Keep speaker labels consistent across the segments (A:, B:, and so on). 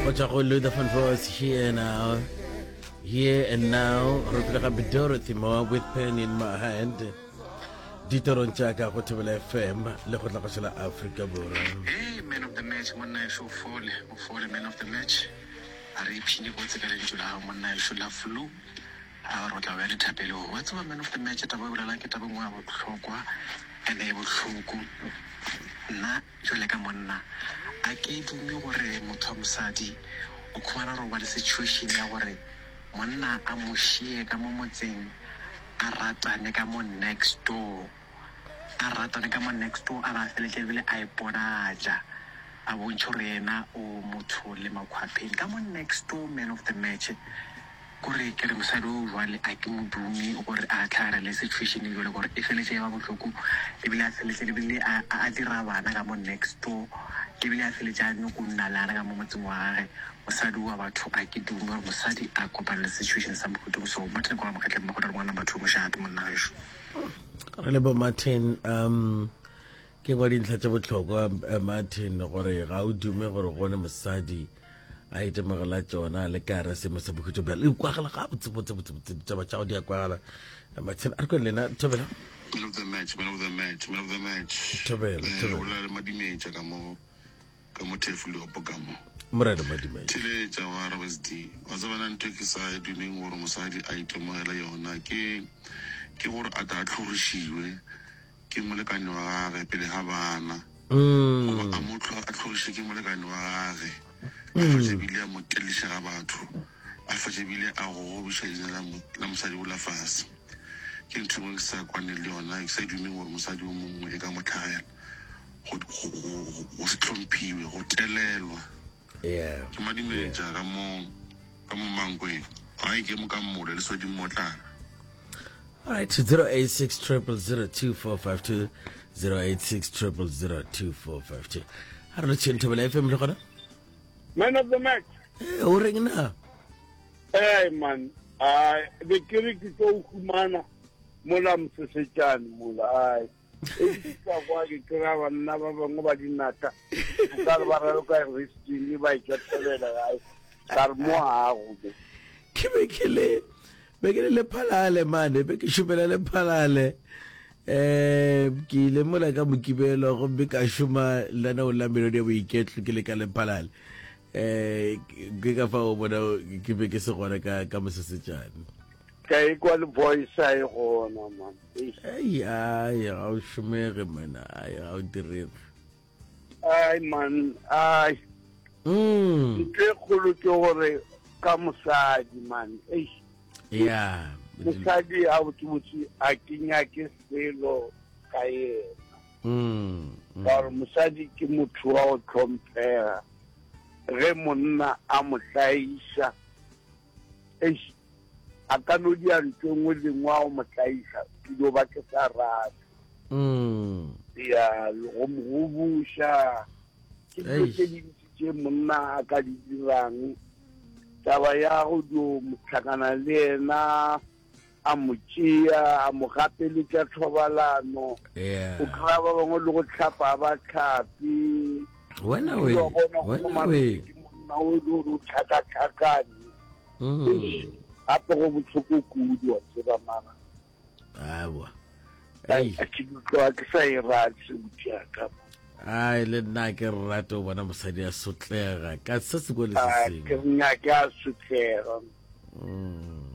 A: Go tšwa go Luther Van Voss, Here Now. Here and Now. Re pele gape Dorothy Moore with pen in my hand. Ditorong tša ka go Thobela FM le go tla go la Afrika Borwa.
B: Hey, man of the match, monna ešo o fole, o fole man of the match. A re ipshine botse ka lentšu la gago monna ešo la flu. A re o tla ba dithapelong. Wa tseba man of the match taba e bolelang ke taba e nngwe ya bohlokwa ene e bohloko. Nna jwale ka monna a ke dume gore motho wa mosadi o khumana gore o ba le situation ya gore monna a mo šie ka mo motseng a ratane ka mo next door. A ratane ka mo next door a ba a feletša ebile a iponatša a bontšha gore yena o motho le makhwapheng ka mo next door man of the match. Kore ke re mosadi o jwale a ke mo dume gore a tlhagelele situation e jwale gore e feletše e ba bohloko ebile a feletše ebile a a dira bana ka mo next door ebile a feletše a nyoko nna le ana ka mo motseng wa gage mosadi wa batho a ke dume gore mosadi a kopane le situation sa mohuta o so. Martin kwa Mokgatleng Mokgotla le ngwana batho mošate monna gešo.
A: Re le bo Martin um ke kwa dintlha tše bohlokwa eh, Martin gore ga o dume gore gone mosadi a itemogela tšona le ka re semo sa bokhutšo bjale e kwagala ga botse botse botse botse ditaba tša go di a kwagala Eh, Martin a re kwe lena thobela
C: Man of the match, man of the match, man of the match.
A: Thobela,
C: Eh,
A: thobela.
C: o bolela le Madimetša ka mo ka mo Thefuliopo ka mo.
A: Morena Madimetša.
C: Theletša wa RSD. Wa tseba na ntho e ke sa e dumeng gore mosadi a itemogele yona ke ke gore a tla a tlhorišiwe ke molekane wa gage pele ga bana. Goba a mo tlho a tlhoriše ke molekane wa gage. A fetše bile a mo teliša ga batho. A fetše bile a gogobiša leina la la mosadi ola fase. Ke ntho e nngwe ke sa kwane le yona, ke sa e dumeng gore mosadi o mongwe e ka mo tlhagela. Go, go, go, go se hlomphiwe, go telelwa.
A: Yeah.
C: Ke madimetša ka mo, ka mo Mankweng. Gae ke mo ka mmole le soding motlana.
A: All right, 086 0002452 086 0002452. Ha re le tšheng Thobela FM le gona?
D: Man of the match.
A: Eh, o reng na?
D: Hey man, ai be ke re ke tlo humana mola mosesetšane mola ai. E ke tla kwa ke kry-a banna ba bangwe ba dinatla ka re ba raloka resting ba etšwa thobela gae ka re mo gago mo.
A: Ke be ke le be ke le lephalale mane be ke šomela lephalale um ke ile mola ka mokibelo gomme ka šoma lenaneo la melodi ya boiketlo ke le ka lephalale um ke ka fa o bona ke be ke se gona ka ka mosesetšane
D: Ka ekwa le voice a e gona man.
A: Ei ai ga o šomege mena ai ga o direge.
D: Ai man ai.
A: Mm.
D: Ntho e kgolo ke gore ka mosadi man. Eish.
A: Yeah.
D: Mosadi a botsebotse a ke nyake selo ka yena.
A: Mm. mm.
D: Ka gore mosadi ke motho wa go tlhomphega. Ge monna a mo tlaiša Eish, a ka no dia ntho e nngwe le nngwe a go mo tlaiša, ke dio ba ke sa rate.
A: Mm.
D: Ya, go mo gobuša. Ke dilo tše dintši tše monna a ka di dirang. Taba ya go dio mo hlakana le yena, a mo tšea, a mo gapeletša thobalano.
A: Yeah.
D: O kry-a ba bangwe le go hlapa a ba hlape.
A: Wena we,
D: Wa bona go
A: wena
D: mara
A: we.
D: ke monna o e le gore o tlhakatlhakane.
A: Mm.
D: Gape go bohloko kudu wa tseba mara.
A: Awa. Ei.
D: A ke tloga ke sa e rate sebuti ya ka.
A: Ai le nna ke rate o bona mosadi a sotlega ka se sengwe le se
D: A ke
A: sengwe.
D: nyake a sotlega.
A: Mm.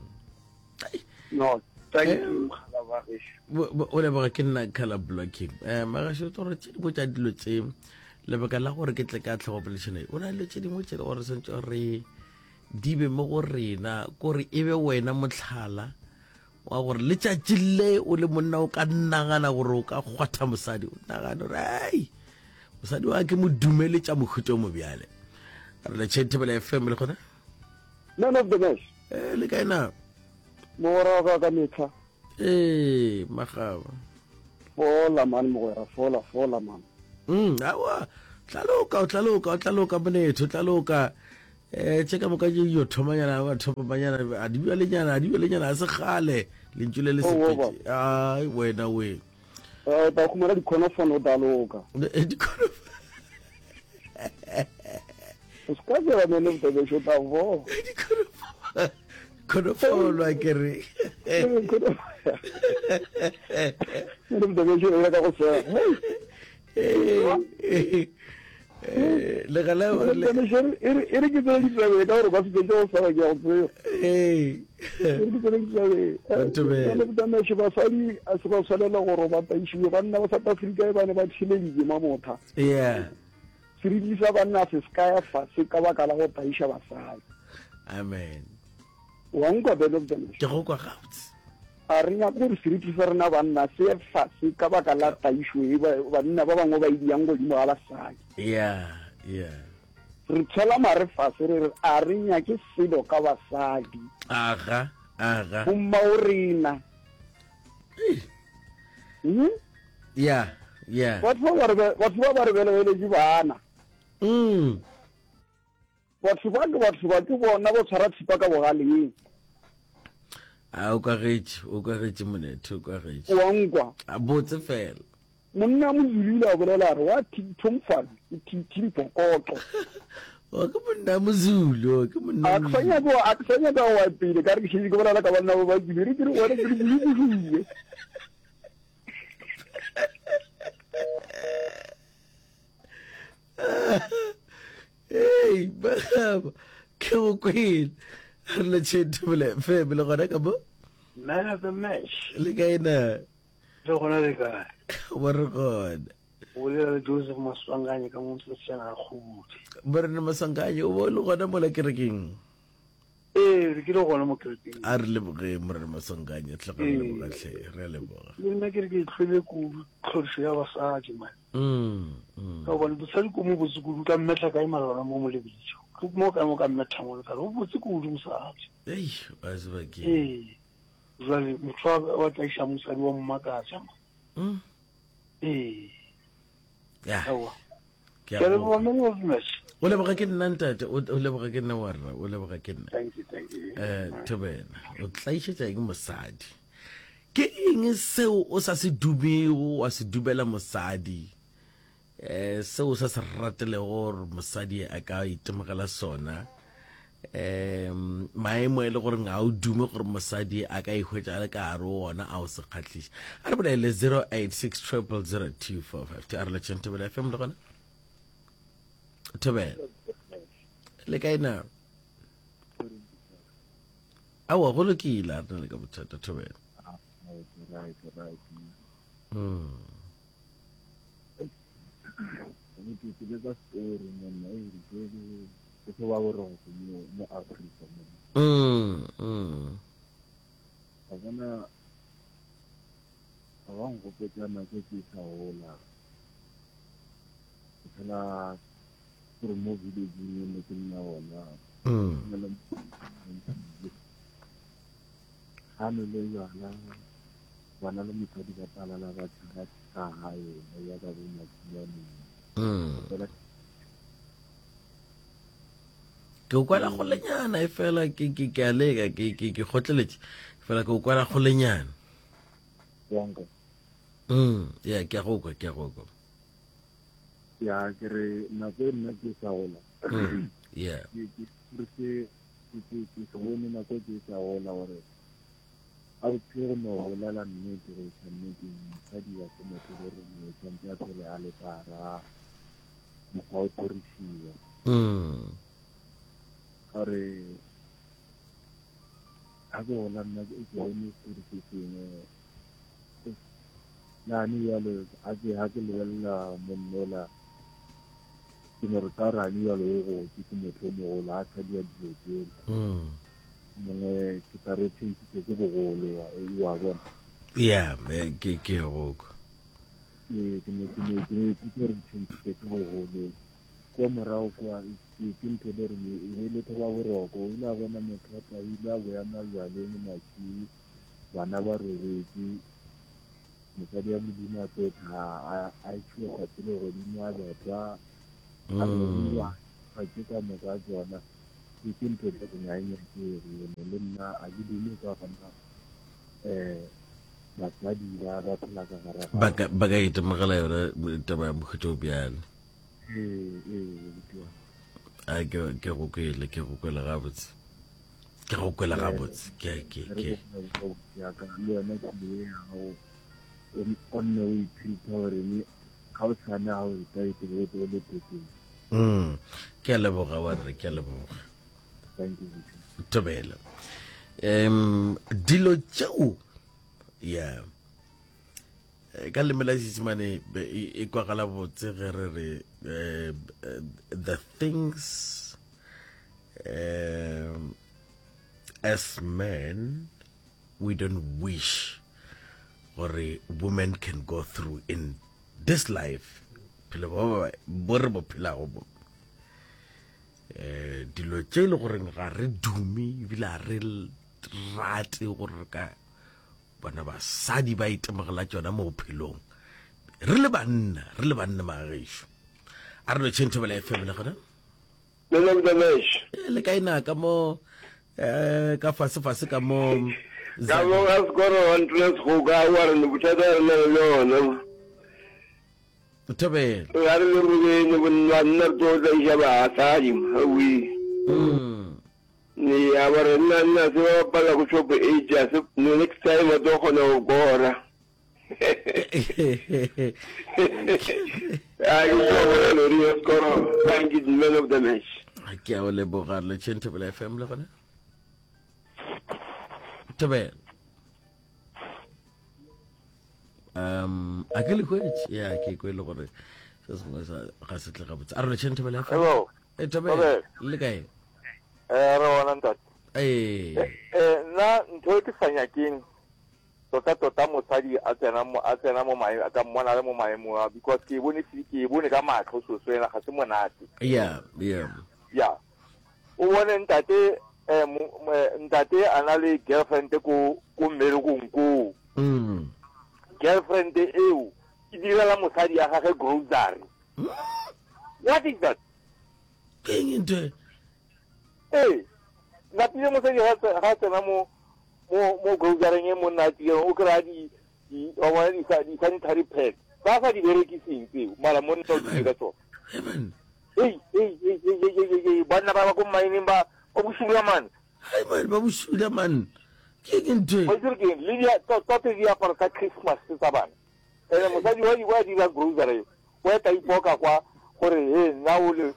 D: No, thank
A: Eh.
D: you mogala wa gešo.
A: O leboga ke nna color blocking. Eh magašo tlo tše dingwe tša dilo tše lebaka la gore ke tle ka tlhogo poledišano e o na le dilo tše dingwe tše le gore santse re di be mo go rena kore e be wena motlhala wa gore letšatši le o le monna o ka nagana gore o ka kgwatha mosadi o nagana gore ai mosadi wa ke mo dumeletša mohuta o mo bjale re le tšhentebela fm le gona
E: Man of the match.
A: Eh, le kae na?
E: Mogwera wa ka ka metlha.
A: Ee, magaba.
E: Fola man mogwera, fola, fola man.
A: Mm, awa, tlaloka, o tlaloka, o tlaloka monetho, tlaloka. Eh, tše ka moka di yo thomanyana, ba thomanyana, a di bjalenyana, a di bjalenyana, a se kgale. Lentšu le le
E: Oh,
A: sepetse. Ai, wena we.
E: Eh, ba khumana dikhonofone o daloka.
A: Eh, dikhonofone.
E: O se ka tsela man of the match o tla bola.
A: Khonofolwa ke re.
E: Man of the match o ya ka go sega.
A: Legala
E: e re ke tsene ditabeng ka gore ba se fetse go sega ke ya go tseba. E re ke tsene ditabeng. Man of the match basadi a se ba tshwanela gore ba taišiwe banna ba South Africa e ba ne ba theleditše mamotha.
A: Yeah.
E: Seriti sa banna se se ka ya fase ka baka la go tlaiša basadi.
A: Amen.
E: Wa nkwa Ben of the Nation?
A: Ke go kwa gabotse.
E: A re nyake gore seriti sa rena banna se ye fase ka baka la tlaišo e banna ba bangwe ba e diang godimo ga basadi.
A: Yeah, yeah.
E: Re tshwela mare fase re re a re nyake selo ka basadi.
A: Aga, aga.
E: Bomma o rena.
A: Hmm? Yeah, yeah.
E: Batho ba ba batho ba ba re belegeletše bana.
A: Mm.
E: Batho ba ke batho ba ke bona ba tshwara thipa ka bogaleng.
A: A o kwagetše, o kwagetše monethe, o kwagetše.
E: Wa nkwa.
A: A botse fela.
E: Monna Mozulu ile a bolela a re wa thithomfane ke thithimphokotlo.
A: O ke monna Mozulu, o ke monna.
E: A ke sa nyaka a ke sa nyaka go ya pele ka re ke šetše ke bolela ka banna ba ba ke re ke re gona ke re bule.
A: Hey, bagaba ke go kwele. Re le tšhete bole feme le gona ka mo.
F: Man of the match.
A: Le kae na?
F: Re gona le kae?
A: Bo re gona.
F: O bolela le Joseph Maswanganye ka mo Mosetsana ga Kgobodi.
A: Morena Maswanganye, o bo le gona mola kerekeng?
F: Ee, re ke le gona mo kerekeng.
A: A re leboge Morena Maswanganye, tle re leboga hle, re a leboga.
F: Le nna ke re ke tlhwele kudu tlhorišo ya basadi man.
A: Mm, mm.
F: Ka gobane mosadi ko mo botse kudu ka mmetha kae mara gona mo mo lebitso. Ke mo kae mo ka mmetha mo ka re o botse kudu mosadi.
A: Ei, wa tseba ke.
F: Ee. Jwale motho wa tlaiša mosadi wa mmakatša ma.
A: Mm.
F: Ee.
A: Ya.
F: Aowa.
A: Ke a
F: Ke a leboga
A: go.
F: man of the match.
A: O leboga ke nna ntate, o o leboga ke nna warra, o leboga ke nna.
F: Thank you, thank you.
A: Eh, Thobela, o tlaišetša eng mosadi? Ke eng seo o sa se dumego wa se dumela mosadi? Eh, seo sa se ratelego gore mosadi a ka itemogela sona um maemo e le gore ga o dume gore mosadi a ka ihwetša a le ka gare o ona a o se kgahliše a re bolele 086 000 2452 a re letšeng thobela fm le gona thobela le kae na aowa go lokile a re na le ka bothata thobela
G: Right, right.
A: mm.
G: Ke ke ka story monna e re ke ke se ba boroko mo mo Afrika mo.
A: Mm, mm.
G: Wa bona ba ba nkgopotsa nako ke sa gola. Ke phela gore mo village-ing e ne ke nna gona.
A: Mm.
G: Ke na le ga nwele jwala bana le mosadi ba palala ba tšhaba ka gae ba ya ka bo matsianeng
A: Mm.
G: fela
A: ke o kwala golenyana e fela ke ke ke a leka ke ke ke kgotleletše fela ke o kwala golenyana
G: wanka
A: mm ya ke a go kwa ke a go kwa
G: ya ke re nako e nna ke sa gola
A: mm yeah
G: ke ke ke se ke ke ke se bone nako ke sa gola gore A botse go no bolela nnete go iša nneteng, mosadi ga se motho le rena, o tshwanetse a phele a le ka gara mokgwa o tlhorisiwa. Ka gore ga ke gola nna ke bone setori se sengwe nane jalo ga ke ga ke lebelela monnola ke no re ka gore gane jalo o gotse ke motho o mogolo a sa dira dilo tsela. Mongwe ke tla re tšhentšhitše ke bogolo wa bona.
A: Ya, ke ke go kwa.
G: Ee, ke ne ke ne ke ne ke re tšhentšhitše ke bogolo. Kwa morago kwa ke ke ntho le re e be le thoba boroko. O ile a bona motho a tla ile a boya majwaleng matšhi bana ba robetše. Mosadi wa Modimo a tlo tla a a tšhua tsatsi le godimo a betwa a robiwa a tše ka moka tsona. Ke ke ntho tsa go ga e nyakege ene le nna a ke dume ka gona um basadi ba ba phela ka gare ga
A: ba ka ba ka itemogela yona taba ya mohuta o bjalo
G: ee ee buti wa.
A: A ke ke go kwele, ke go kwele gabotse. Ke go kwele gabotse. Ke ke ke.
G: Ya ka le yona ke ya gago. O nne o ithuta gore ni ga o tshwane ga o ka e o le teng.
A: Ke a leboga wa re ke a leboga.
G: Thank you.
A: Thobela. Um dilo tšeo yeah eh, ka leme la seesemane e, e kwagala botse ge re re eh, eh, the things um, as men we don't wish gore women can go through in this life phelo bo bo re bo phelago bo eh dilo tše e le goreng ga re dume ebile ga re rate gore re ka bona basadi ba itemogela tšona mo bophelong re le banna re le banna magagešo a re lotšheng thobela fm le gona
D: Eh,
A: le kae na ka mo eh ka fase fase ka mo
D: ka mo ga sekoro wa ntlo segoka wa re ne bothata re na le yona
A: thobela
D: ga re le robene bonna nna re tlo tlaiša basadi awi ya ba re nna nna se ba bapala go shop age a se next time ba tlo kgona go kora Thank you, man of the match.
A: Ke a o leboga le Thobela FM le gona. Thobela. Um a ke le hwetše ya ke kwe le gore se sengwe sa ga se tle gabotse. A re le Thobela FM.
H: Hello.
A: E Thobela le kae?
H: Eh re ona ntate.
A: Eh.
H: Eh nna ntho e ke sa nyakeng Tota tota mosadi a tsena mo a tsena mo maemo a ka mmona le mo maemong a because ke e bone ke e bone ka matlho so so ena ga se monate.
A: Yeah, yeah.
H: Yeah. O bone ntate eh, eh ntate a na le girlfriend ko ko mmerekong koo.
A: Mm.
H: Girlfriend eo e direla mosadi ya gagwe grocery. What is that?
A: Ke eng ntho e?
H: Ee, napile mosadi ga tsena mo mo mo grocereng e monna a tsiyang o kry-a di di wa bona di di sanitary pad ba sa di berekiseng tseo mara monna o dile ka tsona ei ei ei ei ei ei ei banna ba ba ko mmineng ba ba bosula man
A: hai man ba bosula man ke ke ntho
H: e wa ke le di tsa diaparo tsa Christmas tsa bana ene mosadi wa di wa dira grocery wa eta ipoka kwa gore he nna o le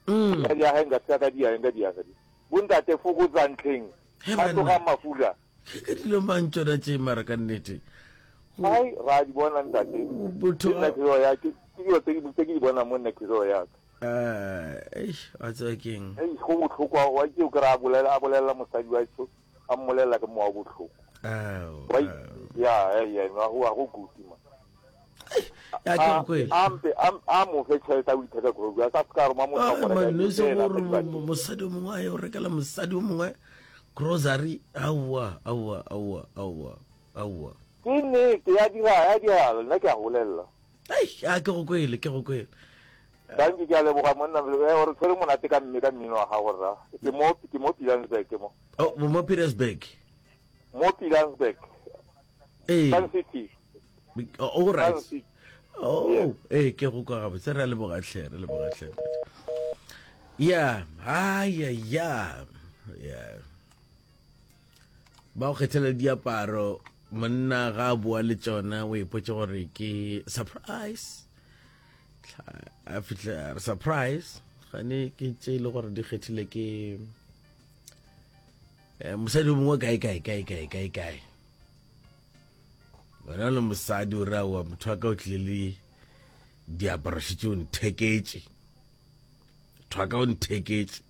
A: Mm.
H: Ka diaga nka se ka diaga nka diaga di. Bontate fokotsang tlheng.
A: He
H: Ba
A: banna.
H: tloga mafula.
A: Ke ka dilo mang tšona tše mara ka nnete.
H: Ai ra di bona ntate.
A: Botho
H: Ke nna khiro ya ke ke dilo tse ke tse ke di bonang mo nna khiro ya ka.
A: Eh, eish, wa tseba keng?
H: Ei go botlhokwa wa ke o kry a bolela a bolela mosadi wa so a mmolelela ke mowa o botlhoko.
A: Ao,
H: Wa
A: ao.
H: ya ya ya go go kuti ma.
A: Ya ke go kwele.
H: A mpe a mo fe tšhelete a o itheka grocery a sa se ka roma motho a mo reka
A: Man, e se
H: fela,
A: gore
H: a sa di
A: mosadi o mongwe a ye o rekela mosadi o mongwe grocery aowa aowa aowa aowa aowa
H: Ke nnete ya dira ya diragala nna ke a go bolelela.
A: Ai, a ke go kwele ke go kwele
H: Danki ke a leboga monna eh, o re tshwere monate ka mme ka mmino wa gago rra. Ke mo ke mo Pilansburg ke mo.
A: Oh, mo Petersburg.
H: Mo Pilansburg.
A: Ee.
H: Sun City.
A: Oh, all right.
H: Sun City.
A: Oh, ee ke go kwa gabotse re a leboga tlhe re leboga tlhe. Ya, ai ya ya. Ya. Ba go kgethela diaparo monna ga a boa le tšona o ipotse gore ke surprise. A fitlha a re surprise gane ke tše e le gore di kgethile ke eh, mosadi o mongwe kae kae kae kae kae kae wena le mosadi o re aowa motho wa ka o tlile le diaparo šetše o ntheketše motho wa ka o ntheketše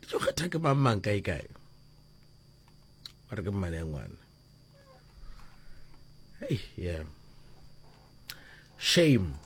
A: di tlo kgetha ke mang mang kae kae ba re ke mmane ya ngwana hey yeah shame.